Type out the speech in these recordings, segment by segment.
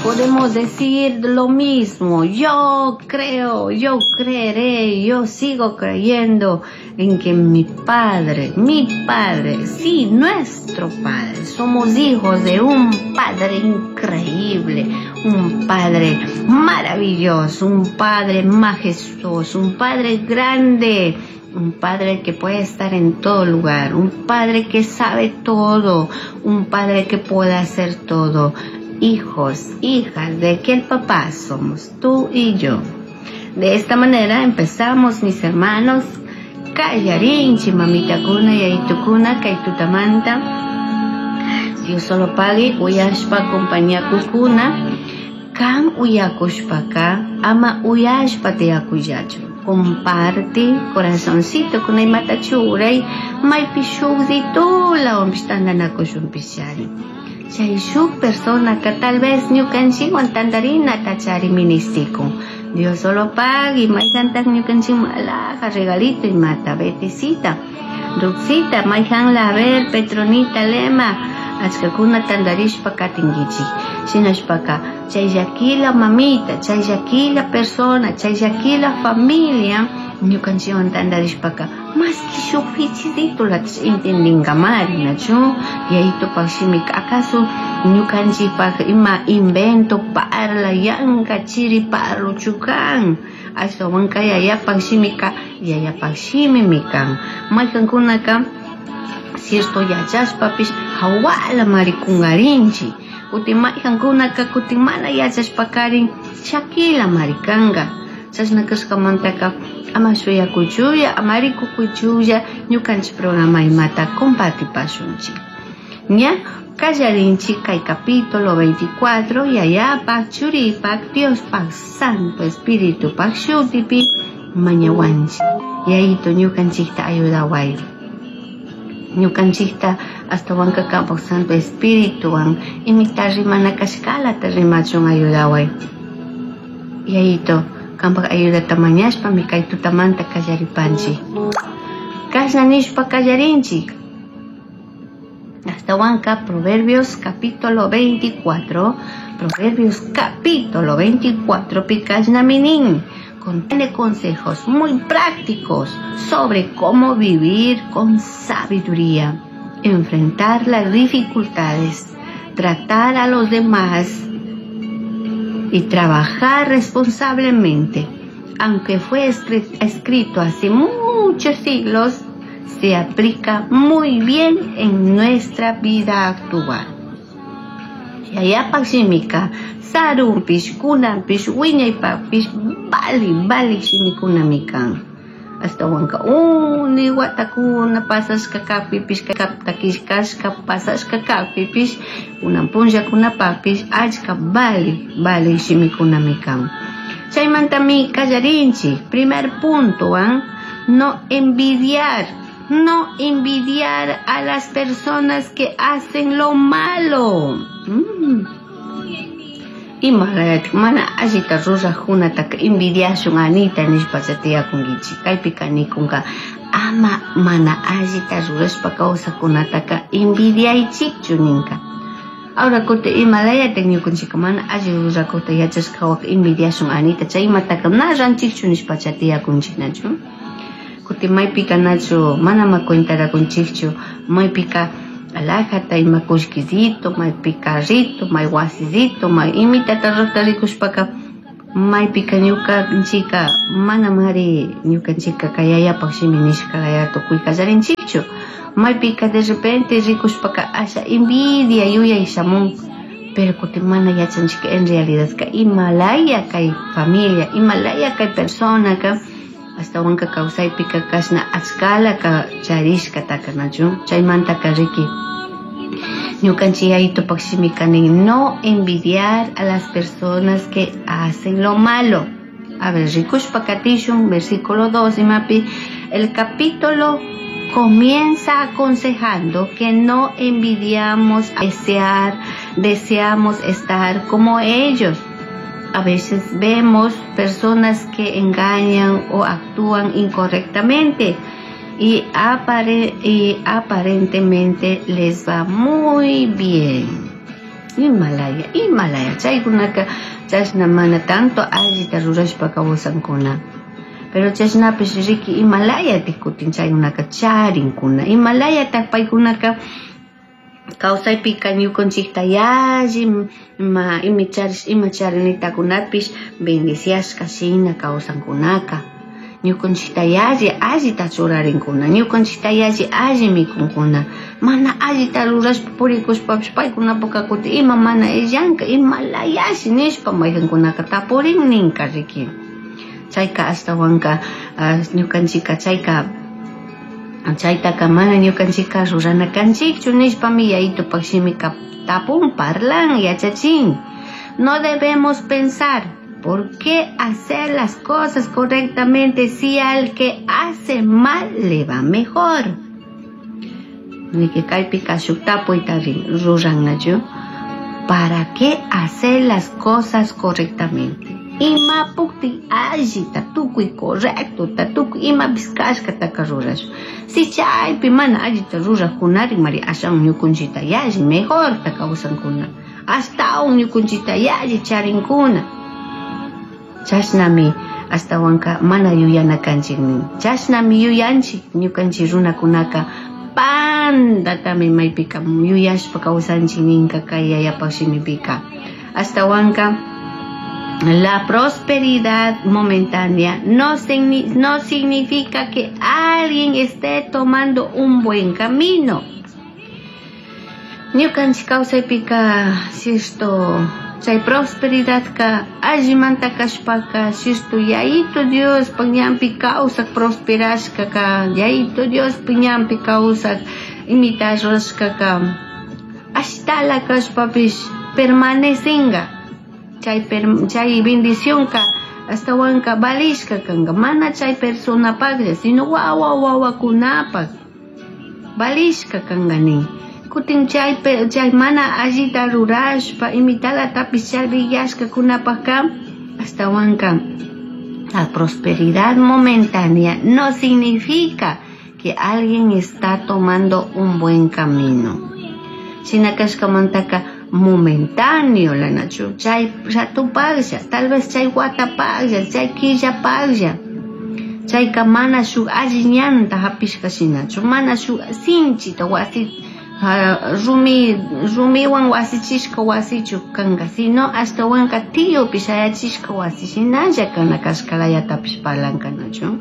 Podemos decir lo mismo, yo creo, yo creeré, yo sigo creyendo en que mi Padre, sí, nuestro Padre, somos hijos de un Padre increíble, un Padre maravilloso, un Padre majestuoso, un Padre grande, un Padre que puede estar en todo lugar, un Padre que sabe todo, un Padre que puede hacer todo. Hijos, hijas de aquel papá somos tú y yo. De esta manera empezamos, mis hermanos. Kallarinchi, mamitakuna, yayitukuna, kay tutamanta. Dios solo pagui, uyashpa compañía kukuna. Kan uyakushpaka, ama uyashpa tiyakullachu. Comparte, corazoncito, kuna imata churay, maypi shukditulawanpish tantanakushunpishari. Chay shuk personaka tal vez ñukanchikwan tantarinata chari ministikun. Dios solo pagui, mayhantak ñukanchikman alhaja regalito imata, Betisita, Ruxita, mayhan la ver, Petronita, Lema, achkakuna tantarishpa katinkichik. Shinashpaka, chay llakila mamita, chay llakila persona, chay llakila familia, ñukanchikwan tantarishpaka, más que shuk fichititulatash entendinkamari, nachu? Yayitupak shimika, acaso ñukanchikpak ima invento parla, yanka chiri parluchu kan? Ashtawanka yayapak shimika, yayapak shimimi kan. Maykankunaka, cierto yachashpapish hawala marikungarinchik. Kutin maykankunaka kutin mana yachashpakarin chakila marikanka. Chashna kashkamantaka ama shuyakuchulla, ama rikukuchulla ñukanchik programa imata compartipashunchik. Ña kallarinchik kay capítulo 24, yayapak, churipak, Diospak, Santo Espiritupak shutipi mañawanchik. Yayito ñukanchikta ayudaway. Ñukanchikta ashtawanka kampak Santo Espirituwan imita rimana kashkalata rimachun ayudaway. Yayito, kampak ayudata mañashpami kay tutamanta kallaripanchik. Kashna nishpa kallarinchik. Ashtawanka Proverbios capítulo 24, Proverbios capítulo 24, pikashnaminin, contiene consejos muy prácticos sobre cómo vivir con sabiduría, enfrentar las dificultades, tratar a los demás y trabajar responsablemente. Aunque fue escrito hace muchos siglos, se aplica muy bien en nuestra vida actual. Yayapak shimika, sarunpish, kunanpish, wiñaypakpish, vali, vali shimikunami kan. Ashtawanka uni watakuna pasashka kakpipish, kaptakishkashka pasashka kakpipish, kunan punllakunapakpish, achka vali, vali shimikunami kan. Chaymantami kallarinchik. Primer punto, No envidiar. No envidiar a las personas que hacen lo malo. Imaratik mana allita rurajkunataka envidiashun anita nishpa tiyakunkichik. Kaypika nikunka ama mana allita rurashpa kawsajkunataka envidiaychikchu ninka. Ahora kutin imalayatik ñukanchikka mana alli rurakukta yachashka envidiashun anita chay imataka na ranchikchu nishpa tiyakunchik nachu. Kutin maypika nachu mana ma cuentarakunchikchu maypika alhajata ima kullkisito, maypi carrito, may wasisito, may imitata rurata rikushpaka maypika ñukanchika mana mari ñukanchika kay yayapak shimi nishka laya tukuy kallarinchikchu. Maypika de repente rikushpaka asha envidia yuyay shamun, pero kutin mana yachanchik en realidad ka imalaya kay familia, imalaya kay persona ka ashtawanka kawsaypika kashna achkala ka charishkataka nachu. Chaymantaka riki ñukanchik yayitupak shimika nin no envidiar a las personas que hacen lo malo. A ver, rikushpa katishun, versículo 2, imapi, el capítulo comienza aconsejando que no envidiamos, deseamos estar como ellos. A veces vemos personas que engañan o actúan incorrectamente y aparentemente les va muy bien. Imalaya, imalaya chaykunaka chashna mana tanto allita rurashpa kawsankuna. Pero chashnapish riki imalayatik kutin chaykunaka charinkuna, imalayatak paykunaka kawsaypika ñukanchikta yalli ima ima charinitakunapish bendiciashka shina kawsankunaka. Ñukanchikta yalli allita churarinkuna, ñukanchikta yalli alli mikunkuna, mana allita rurashpa purikushpapish paykunapaka kutin ima mana illanka, imalayashi nishpa maykankunaka tapurin ninka riki. Chayka ashtawanka ñukanchika chayka chaytaka mana ñukanchika rurana kanchikchu nishpami yayitupak shimika tapun, parlan, yachachin. No debemos pensar por qué hacer las cosas correctamente si al que hace mal le va mejor. Niki kaypika shuk tapuyta rurannachu. ¿Para qué hacer las cosas correctamente? Imapukti allita tukuy correcto tukuy imapish kashkataka rurashun. Si chaypi mana allita rurajkunari mari ashawan ñukunchikta yalli mejorta kawsankuna, ashtawan ñukunchikta yalli charinkuna. Chashnami ashtawanka mana yuyana kanchik nin. Chashnami yuyanchik ñukanchik runakunaka pandatami maypika yuyashpa kawsanchik ninka kay yayapak shimipika. Ashtawanka la prosperidad momentánea no significa que alguien esté tomando un buen camino. Ñukanchik kawsaypika cierto chay prosperidadka allimanta kashpaka cierto Yayito Diospak ñanpi kawsak prosperashkaka, Yayito Diospak ñanpi kawsak imita rurashkaka ashtala kashpapish permanecinga. Chay bendicionka ashtawanka valishka kanka, mana chay personapaklla sino wawa wawakunapak valishka kanka nin. Kutin chay mana allita rurashpa imitalatapis chariyashkakunapakka ashtawanka la prosperidad momentánea no significa que alguien está tomando un buen camino. Shina kashkamantaka momentáneo lanachu, chay ratupaklla, tal vez chay watapaklla, chay killapaklla, chayka mana shuk alli ñanta hapishka shinachu, mana shuk sinchita wasi rumiwan wasichishka wasichu kanka, sino ashtawanka tiyupi shayachishka wasi shinalla kana kashkalayatapish parlankanachu.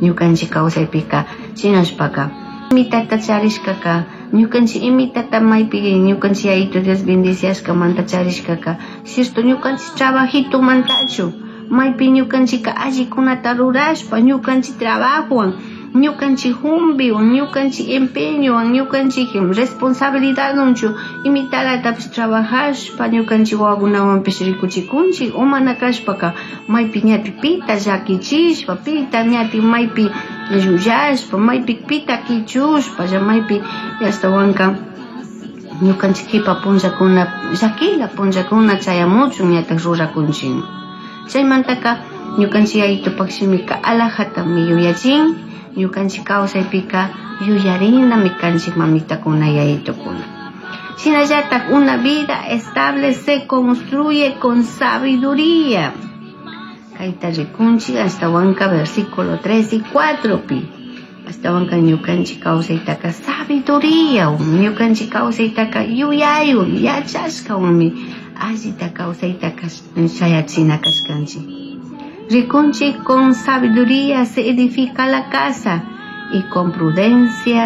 Ñukanchik kawsaypika shinashpaka imitata charishkaka, ñukanchik imitata maypi ñukanchik Yayito Dios bendiciashkamanta charishkaka, cierto ñukanchik trabajitomantachu, maypi ñukanchika allikunata rurashpa, ñukanchik trabajowan, ñukanchik humbiwan, ñukanchik empeñowan, ñukanchik responsabilidadwanchu imitalatapis trabajashpa ñukanchik wawakunawanpish rikuchikunchik, o mana kashpaka maypi ñati pita llakichishpa, pita ñati maypi llullashpa, maypi pita kichushpa, maypi ashtawanka ñukanchik kipa punllakuna llakila punllakuna chayamuchun ñatak rurakunchik. Chaymantaka ñukanchik Yayitupak shimika alajatami yuyachin, ñukanchik kawsaypika yuyarinami kanchik mamitakuna yayitukuna. Shinallatak una vida estable se construye con sabiduría. Kayta rikunchik ashtawanka versículo 3 y 4 pi. Ashtawanka ñukanchik kawsaytaka sabiduría, ñukanchik kawsaytaka yuyaywan, yachashkawanmi allita kawsaytaka shayachina kashkanchik. Rikunchik con sabiduría se edifica la casa y con prudencia